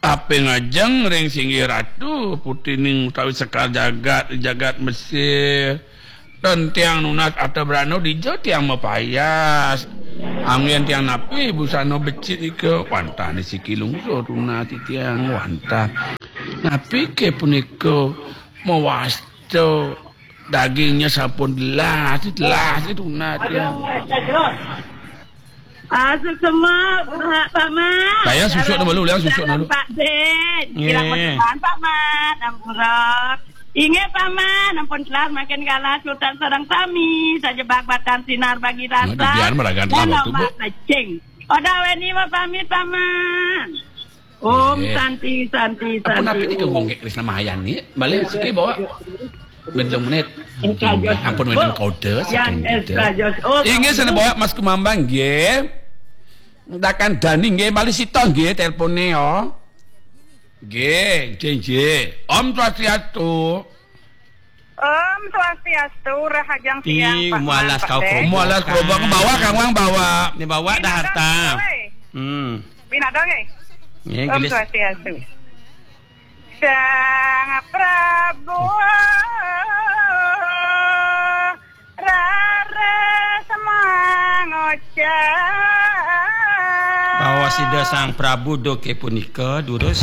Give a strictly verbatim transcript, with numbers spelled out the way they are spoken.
Aping ajeng ring singgih ratu, putrining utawi sekar jagat, jagat Mesir. Ten tiang nunas arta brana dija tiang mapayas. Anggen tiang napi busana becik ika, wantah ni siki lungsur tunas titiang, wantah. Napi ké punika mawasta dagingnya sampun telas, telas tunas tiang. Ah, suksma, Pak, Pak Mat. Kaya susuk nama lu, liang susuk nama lu. Pak Din. Nggih. Kirang berkenan, Pak Mat. Ampura. Inggih, Pak Mat. Ampun telas makin galah sultan sareng sami. Sajebak batang sinar bagi rasa. Nah, dibiar meragan telah waktu, Bu. Pecing. Oda weni mapamit, Pak Mat. Om Nggih. Santi, Santi, Ampun Santi, napi nika Om. Ngonggek Krisna Mahayani? Balik siki bawa. Benjong menit. Ampun, Bu, menit kode, yang saking kode. Extra Joss. Oh, Inggih, sama sana Bu. Bawa Mas Kumambang, nggih. Dakan Dani, nggih, balik sita, nggih, teleponnya, ya. Nggih, nggih, nggih. Om Swastiastu. Om Swastiastu, rahajeng siang, Pak Mualas Mat, kau Pak Dek. Kerubuk. Mualas kerubuk, bawa, Kang Wang, bawa. Ini bawa dah harta. Pinadong, weh. Hmm. Pinadong, eh. Nggih, Om gelis. Swastiastu. Sang Prabu raris mangocap. Bahwa sida Sang Prabu duké punika durus.